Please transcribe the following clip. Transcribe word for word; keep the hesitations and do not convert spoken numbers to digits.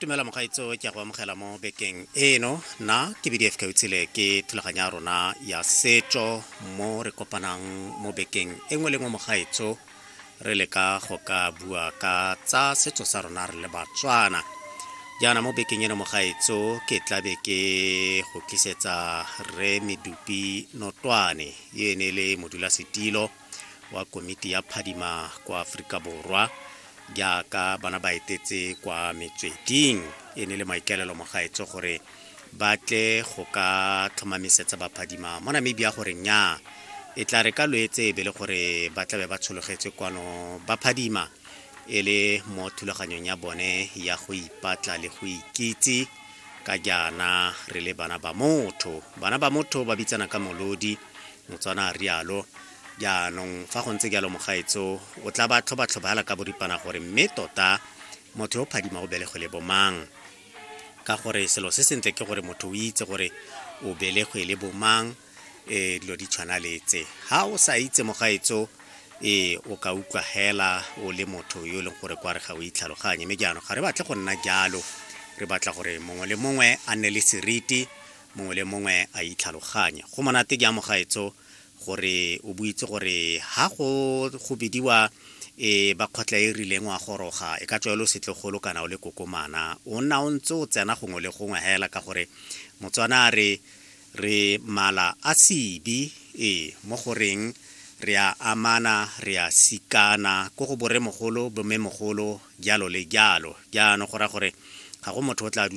Tumela mogaetso, ke a go amogela mo bekeng eno. Nna ke B D F Kautsile, ke thulaganyo ya rona ya setso mo re kopanang mo bekeng e nngwe le nngwe mogaetso, re leka go ka bua ka tsa setso sa rona re le Batswana. Jaana mo bekeng eno mogaetso, ke tlabe ke go tlisetsa re Medupi Notwane, e ne le modulasetilo wa komiti ya Phadima kwa Aforika Borwa, jaaka bana ba etetse kwa metsweding. E ne le maikaelelo mogaetso gore ba tle go ka tlhomamisetsa baphadima mo Namibia gore nnyaa, e tla re ka Lwetse e be le gore ba tlabe ba tshologetse kwano ba phadima, e le mo thulaganyong ya bone ya go ipatla le go ikitse, ka jaana re le bana ba motho. Bana ba motho ba bitsana ka molodi, Motswana a rialo. Jaanong fa go ntse jalo mogaetso, o tla ba tlhobatlhoba ka boripana gore mme tota motho yo phadima o belegwe le bomang, ka gore selo se sentle ke gore motho o itse gore o belegwe le bomang. um dilo di tshwana letse ha o sa itse mogaetso, e o ka utlwa hela o le motho yo e leng gore kwa re ga o itlhaloganye. Mme jaanong ga re batle go nna jalo, re batla gore mongwe le mongwe a nne le seriti, mongwe le mongwe a itlhaloganye. Go monate ke a mogaetso gore o buitse gore ha go go bidiwa e ba kgotla e rileng wa goroga, e ka tswa e le setlogolo kana o le kokomana, o nna o ntse o tsena gongwe le gongwe hela, ka gore Motswana a re re mala a sebi e mo goreng re a amana, re a sikana ko go boremogolo, bommemogolo, jalo le jalo. Jaanong go raya gore ga go motho o tla